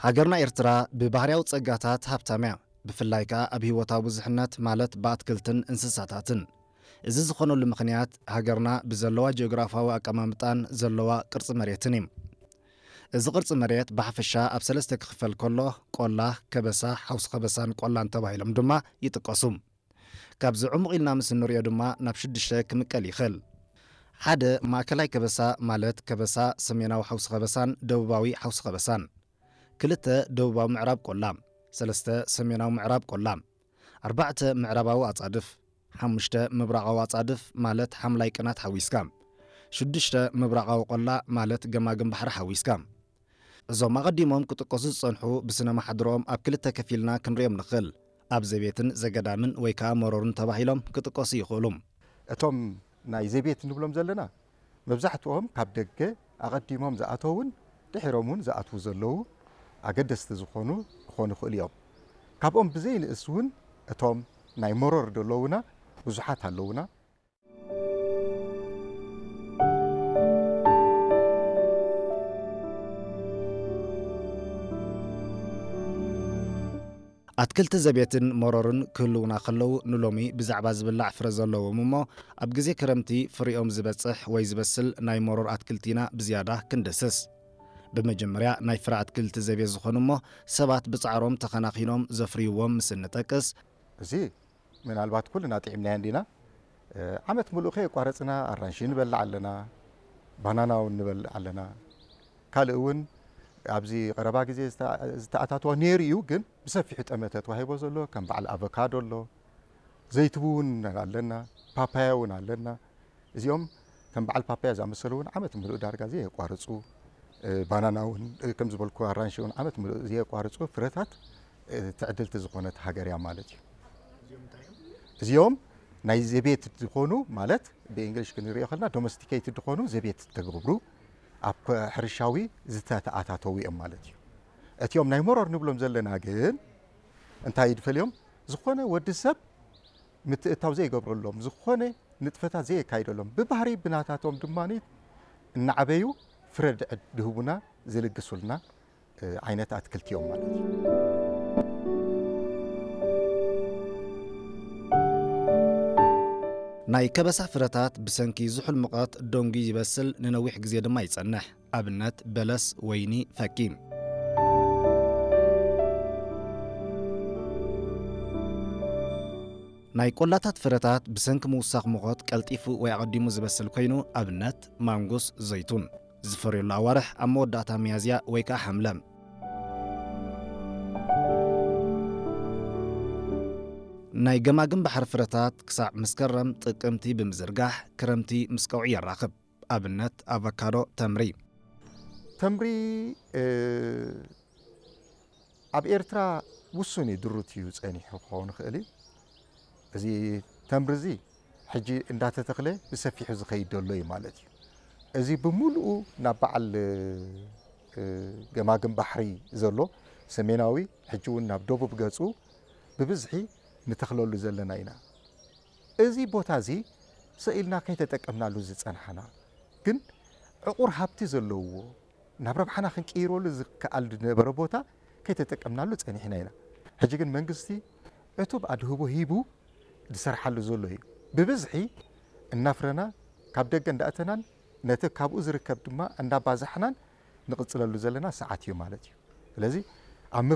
ሃገርና ኤርትራ ብባህርያዊ ጸጋታት ሃብታም እያ፣ ብፍላይ ከኣ ኣብ ህይወታዊ ብዙሕነት፣ ማለት ብኣትክልትን እንስሳታትን። እዚ ዝኾነሉ ምኽንያት፣ ሃገርና ብዘለዋ ጂኦግራፋዊ ኣቀማምጣን ዘለዋ ቅርጺ መሬትን እዩ። እዚ ቅርጺ መሬት ብሓፈሻ ኣብ ሰለስተ ክኽፈል ከሎ፣ ቆላ፣ ከበሳ፣ ሓውሲ ከበሳን ቆላን ተባሂሎም ድማ ይጥቀሱ። ካብዚ ዕሙቕ ኢልና ምስ እንሪኦ ድማ ናብ ሽዱሽተ ክምቀል ይኽእል። ሓደ፣ ማእከላይ ከበሳ፣ ማለት ከበሳ፣ ሰሜናዊ ሓውሲ ከበሳን ደቡባዊ ሓውሲ ከበሳን። ክልተ፣ ደቡባዊ ምዕራብ ቆላ። ሰለስተ፣ ሰሜናዊ ምዕራብ ቆላ። ኣርባዕተ፣ ምዕራባዊ ኣጻድፍ። ሓሙሽተ፣ ምብራቓዊ ኣጻድፍ፣ ማለት ሓምላይ ቅናት ሓዊስካ። ሽዱሽተ፣ ምብራቓዊ ቆላ፣ ማለት ገማግም ባሕሪ ሓዊስካ። እዞም ኣቐዲሞም ክጥቀሱ ዝጸንሑ ብስነ ማሕድሮኦም ኣብ ክልተ ከፊልና ክንሪኦም ንኽእል። ኣብ ዘቤትን ዘገዳምን ወይ ከኣ መሮርን ተባሂሎም ክጥቀሱ ይኽእሉ። እቶም ናይ ዘቤት እንብሎም ዘለና መብዛሕትኦም ካብ ደገ ኣቐዲሞም ዝኣተውን ድሒሮም እውን ዝኣትዉ ዘለዉ ኣገደስቲ ዝኾኑ ክኾኑ ይኽእሉ እዮም። ካብኦም ብዘይንእስ እውን እቶም ናይ መሮር ዘለዉና ብዙሓት ኣለዉና። ኣትክልቲ ዘቤትን መሮርን ክህልዉና ከለዉ፣ ንሎሚ ብዛዕባ ዝብላዕ ፍረ ዘለዎም እሞ ኣብ ግዜ ክረምቲ ፍሪኦም ዝበጽሕ ወይ ዝበስል ናይ መሮር ኣትክልቲ ኢና ብዝያዳ ክንድህስስ። ብመጀመርያ ናይ ፍረ ኣትክልቲ ዘቤት ዝኾኑ እሞ ሰባት ብጻዕሮም ተኸናኺኖም ዘፍርይዎም ምስ እንጠቅስ፣ እዚ ምናልባት ኩልና ጥዒምናዮ እንዲና። እ፣ ዓመት ምሉእ ከየቋረጽና ኣራንሺ ንበልዕ ኣለና፣ ባናና እውን ንበልዕ ኣለና። ካልእ እውን ኣብዚ ቀረባ ግዜ ዝተ-፣ ዝተኣታተወ ነይሩ እዩ፣ ግን ብሰፊሑ ጠመተ ተዋሂቦ ዘሎ ከም በዓል ኣቮካዶ ኣሎ፣ ዘይትቡ እውን ኣለና፣ ፓፓያ እውን ኣለና። እዚኦም ከም በዓል ፓፓያ ዝኣመሰሉ እውን ዓመት ምሉእ ዳርጋ ዘየቋርጹ፣ እ፣ ባናና እውን፣ እ፣ ከም ዝበልኩ ኣራንሺ እውን ዓመት ምሉእ ዘየቋርጹ ፍረታት፣ እ፣ ትዕድልቲ ዝኾነት ሃገር እያ ማለት እዩ። እዚኦም ናይ ዘቤት ዝኾኑ ማለት ብእንግሊሽ ክንሪኦ ከለና ዶሜስቲኬትድ ዝኾኑ ዘቤት ተገብሩ ኣብ ኮ-፣ ሕርሻዊ ዝተተኣታተዉ እዮም ማለት እዩ። እቲኦም ናይ መሮር ንብሎም ዘለና ግን እንታይ ይድፈልዮም? ዝኾነ ወዲ ሰብ ምትእታው ዘይገብረሎም፣ ዝኾነ ንጥፈታት ዘየካይደሎም፣ ብባህሪ ብናታቶም ድማ እናዓበዩ ፍረ ድዕድ ድህቡና ዝልግሱልና፣ እ፣ ዓይነት ኣትክልቲ እዮም ማለት እዩ። ናይ ከበሳ ፍረታት ብሰንኪ ዝሑል ሙቐት ደንጉዩ ይበስል፣ ንነዊሕ ግዜ ድማ ይጸንሕ። ኣብነት በለስ፣ ወይኒ፣ ፈኪ። ናይ ቆላታት ፍረታት ብሰንኪ ምውሳኽ ሙቐት ቀልጢፉ ወይ ኣቐዲሙ ዝበስል ኮይኑ፣ ኣብነት ማንጉስ፣ ዘይቱን። ዝፈርየሉ ኣዋርሕ ኣብ መወዳእታ ሚያዝያ ወይ ከኣ ሓምለ። ናይ ገማግም ባሕሪ ፍረታት ክሳዕ መስከረም ጥቅምቲ ብምዝርጋሕ ክረምቲ ምስ ቀውዒ የራኽብ። ኣብነት ኣቮካዶ፣ ተምሪ። ተምሪ፣ እ፣ ኣብ ኤርትራ ውሱን እዩ ድሩት እዩ ጸኒሑ ክኸውን ይኽእል እዩ። እዚ ተምሪ እዚ ሕጂ እንዳተተኽለ ብሰፊሑ ዝኸይድ ዘሎ እዩ ማለት እዩ። እዚ ብምሉኡ ናብ በዓል፣ እ፣ ገማግም ባሕሪ ዘሎ ሰሜናዊ፣ ሕጂ እውን ናብ ደቡብ ገጹ ብብዝሒ ንተኽለሉ ዘለና ኢና። እዚ ቦታ እዚ ሰኢልና ከይተጠቀምናሉ ዝጸናሕና፣ ግን ዕቑር ሃብቲ ዘለውዎ፣ ናብ ረብሓና ክንቅይረሉ ዝከኣል ዝነበረ ቦታ ከይተጠቀምናሉ ጸኒሕና ኢና። ሕጂ ግን መንግስቲ ዕቱብ ኣድህቦ ሂቡ ዝሰርሓሉ ዘሎ እዩ። ብብዝሒ እናፍረና፣ ካብ ደገ እንዳእተናን ነቲ ካብኡ ዝርከብ ድማ እንዳባዛሕናን ንቕጽለሉ ዘለና ሰዓት እዩ ማለት እዩ። ስለዚ